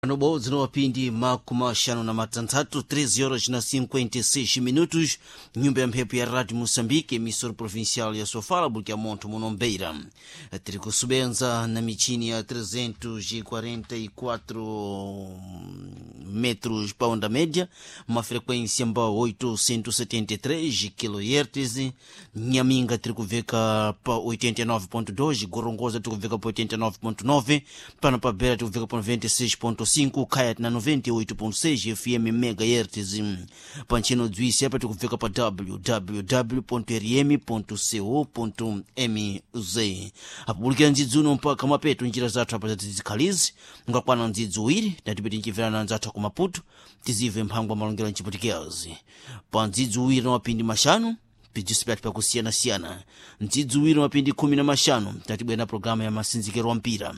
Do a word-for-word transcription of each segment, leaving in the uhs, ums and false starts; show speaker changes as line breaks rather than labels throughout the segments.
Pano zino makumi axanu na matanthatu treze horas na cinquenta e seis minutos, nyumba ya mphepo ya Rádio Moçambique, emissora provincial ya Sofala, porque monto munombeira tiri kusubenza na michini ya trezentos e quarenta e quatro metros pa onda média, uma frequência mbao oitocentos e setenta e três kilohertz. Nhaminga tiri kuveka pa oitenta e nove ponto dois, Gorongosa tiri kuveka pa oitenta e nove ponto nove, pano pa Beira tiri kuveka pa noventa e seis ponto cinco, Kaya na noventa e oito ponto seis F M megahertz. Pantchino dzwisi apa tikuveka pa W W W ponto R M ponto co ponto M Z. Apubulikira ndzidzi uno mpaka mapeto njira zathu apa zatizikhalizi ngakwana ndzidzi uwiri tatipeti nchimverana nzathu ku Maputo, tizive mphangwa malongero mchiputikezi pa ndzidzi uwiri na mapindi maxanu pidziso pyathu pakusiyanasiyana. Ndzidzi uwiri na mapindi khumi na maxanu tatibwera na programa ya masinzikiro wa mpira.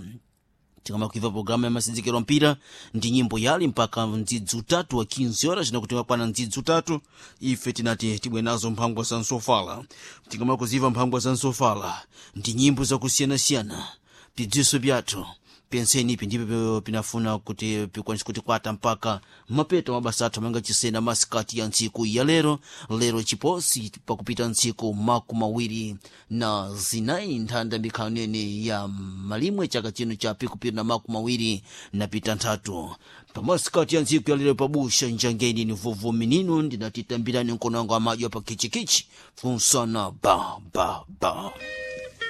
Tikamakuiva programa ya masinzikiro mpira ndi nyimbo yali mpaka mdzidzi utatu wa quinze horas, nakuti makwana mdzidzi utatu ife tinati tibwe nazo mphangwa za nsofala. Tikamakuziva mphangwa za nsofala ndi nyimbo zakusiyanasiyana, pidziso pyathu penseni ipi ndipo pinafuna kuti pikwanise kutikwata mpaka mapeto mabasa athu amanga chisena masikati ya ntsiku ya lero. Lero chiposi pakupita ntsiku makumi mawiri na zinayi nthanda mikhalu nene ya malimwe chaka chino cha pikupiri na makumi mawiri na pita nthatu. Pamasikati ya ntsiku ya lero pabusha njangeni ni vovo minino ndinatitambirani mkono wangu amadya pa kichikichi funsana ba ba ba.